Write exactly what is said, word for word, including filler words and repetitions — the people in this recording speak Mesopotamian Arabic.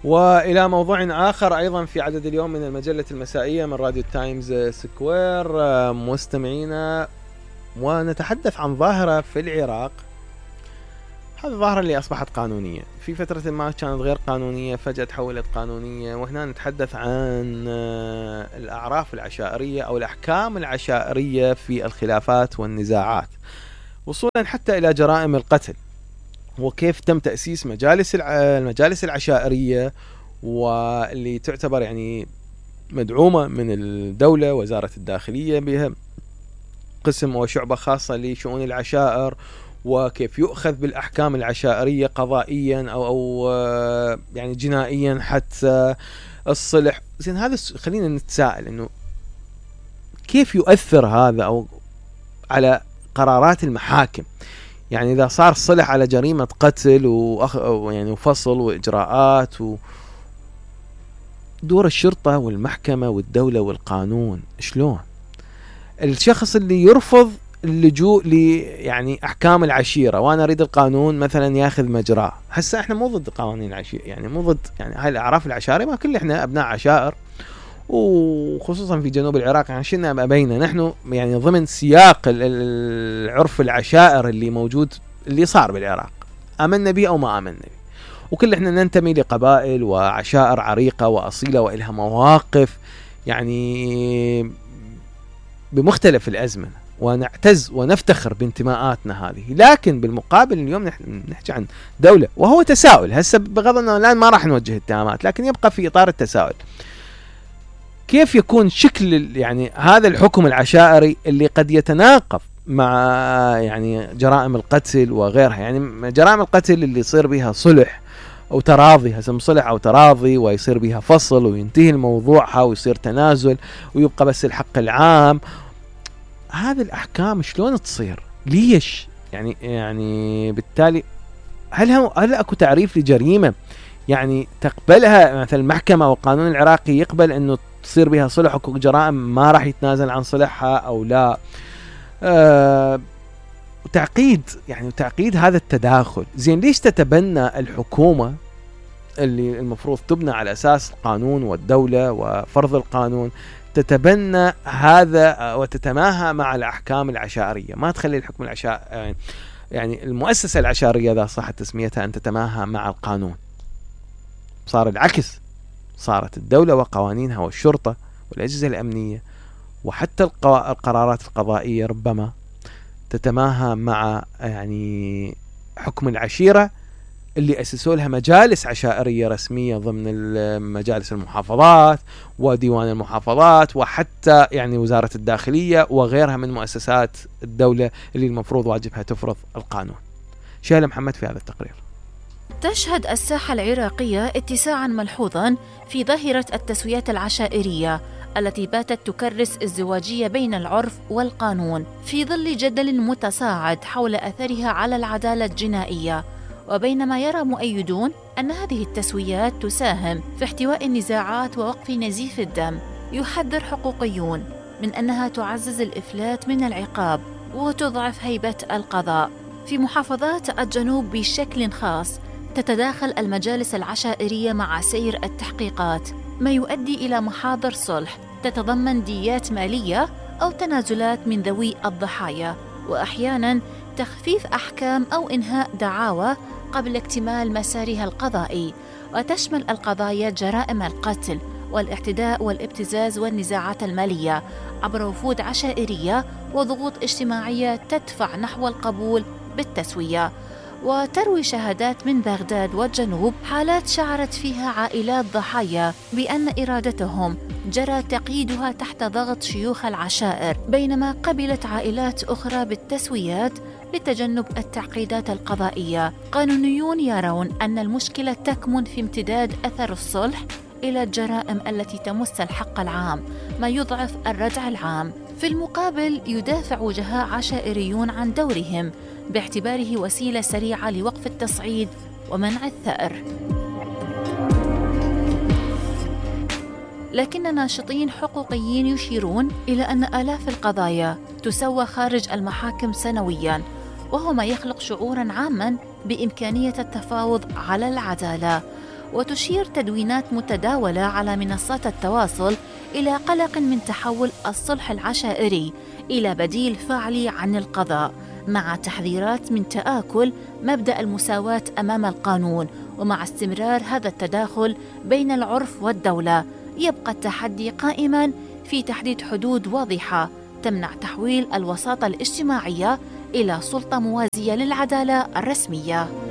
وإلى موضوع آخر أيضا في عدد اليوم من المجلة المسائية من راديو تايمز سكوير مستمعينا، ونتحدث عن ظاهرة في العراق. هذه الظاهرة اللي أصبحت قانونية، في فترة ما كانت غير قانونية، فجأة تحولت قانونية. وهنا نتحدث عن الأعراف العشائرية أو الأحكام العشائرية في الخلافات والنزاعات، وصولا حتى إلى جرائم القتل، وكيف تم تأسيس مجالس المجالس العشائرية، واللي تعتبر يعني مدعومة من الدولة، وزارة الداخلية بها قسم وشعبة خاصة لشؤون العشائر، وكيف يؤخذ بالأحكام العشائرية قضائيا أو, أو يعني جنائيا حتى الصلح. زين، هذا خلينا نتساءل إنه كيف يؤثر هذا أو على قرارات المحاكم؟ يعني إذا صار صلح على جريمة قتل وأخ يعني وفصل وإجراءات ودور الشرطة والمحكمة والدولة والقانون، شلون الشخص اللي يرفض اللجوء ل يعني أحكام العشيرة وأنا أريد القانون مثلا ياخذ مجراه؟ هسه إحنا مو ضد قوانين العشيرة، يعني مو ضد يعني هاي الأعراف العشائرية، ما كل إحنا أبناء عشائر، وخصوصا في جنوب العراق يعني شلنا ما بيننا نحن يعني ضمن سياق العرف العشائر اللي موجود اللي صار بالعراق، آمنا به أو ما آمنا به، وكل إحنا ننتمي لقبائل وعشائر عريقة وأصيلة وإلها مواقف يعني بمختلف الأزمنة، ونعتز ونفتخر بانتماءاتنا هذه. لكن بالمقابل اليوم نحن نحكي عن دولة، وهو تساؤل هسه بغض النظر الآن ما راح نوجه اتهامات، لكن يبقى في إطار التساؤل، كيف يكون شكل يعني هذا الحكم العشائري اللي قد يتناقض مع يعني جرائم القتل وغيرها؟ يعني جرائم القتل اللي يصير بها صلح أو تراضي، هسم صلح أو تراضي، ويصير بها فصل وينتهي الموضوعها ويصير تنازل ويبقى بس الحق العام، هذه الأحكام شلون تصير؟ ليش؟ يعني يعني بالتالي هل هم هل أكو تعريف لجريمة يعني تقبلها مثلا المحكمة أو القانون العراقي يقبل إنه تصير بها صلح، وكو جرائم ما راح يتنازل عن صلحها أو لا؟ أه وتعقيد يعني تعقيد هذا التداخل. زين، ليش تتبنى الحكومة اللي المفروض تبنى على أساس القانون والدولة وفرض القانون تتبنى هذا وتتماهى مع الأحكام العشائرية؟ ما تخلي الحكم العشائري يعني المؤسسة العشائرية إذا صح تسميتها أن تتماهى مع القانون. صار العكس، صارت الدولة وقوانينها والشرطة والأجهزة الأمنية وحتى القرارات القضائية ربما تتماهى مع يعني حكم العشيرة اللي أسسوا لها مجالس عشائرية رسمية ضمن مجالس المحافظات وديوان المحافظات وحتى يعني وزارة الداخلية وغيرها من مؤسسات الدولة اللي المفروض واجبها تفرض القانون. شهلة محمد في هذا التقرير. تشهد الساحة العراقية اتساعا ملحوظا في ظاهرة التسويات العشائرية التي باتت تكرس الازدواجية بين العرف والقانون في ظل جدل متصاعد حول أثرها على العدالة الجنائية. وبينما يرى مؤيدون أن هذه التسويات تساهم في احتواء النزاعات ووقف نزيف الدم، يحذر حقوقيون من أنها تعزز الإفلات من العقاب وتضعف هيبة القضاء. في محافظات الجنوب بشكل خاص تتداخل المجالس العشائرية مع سير التحقيقات، ما يؤدي إلى محاضر صلح تتضمن ديات مالية أو تنازلات من ذوي الضحايا، وأحياناً تخفيف أحكام أو إنهاء دعاوى قبل اكتمال مسارها القضائي، وتشمل القضايا جرائم القتل والاعتداء والابتزاز والنزاعات المالية عبر وفود عشائرية وضغوط اجتماعية تدفع نحو القبول بالتسوية. وتروي شهادات من بغداد والجنوب حالات شعرت فيها عائلات ضحايا بأن إرادتهم جرى تقييدها تحت ضغط شيوخ العشائر، بينما قبلت عائلات أخرى بالتسويات لتجنب التعقيدات القضائية. قانونيون يرون أن المشكلة تكمن في امتداد أثر الصلح إلى الجرائم التي تمس الحق العام، ما يضعف الردع العام. في المقابل يدافع وجهاء عشائريون عن دورهم باعتباره وسيلة سريعة لوقف التصعيد ومنع الثأر. لكن ناشطين حقوقيين يشيرون إلى أن آلاف القضايا تسوى خارج المحاكم سنوياً، وهو ما يخلق شعوراً عاماً بإمكانية التفاوض على العدالة. وتشير تدوينات متداولة على منصات التواصل إلى قلق من تحول الصلح العشائري إلى بديل فعلي عن القضاء، مع تحذيرات من تآكل مبدأ المساواة أمام القانون. ومع استمرار هذا التداخل بين العرف والدولة، يبقى التحدي قائماً في تحديد حدود واضحة تمنع تحويل الوساطة الاجتماعية إلى سلطة موازية للعدالة الرسمية.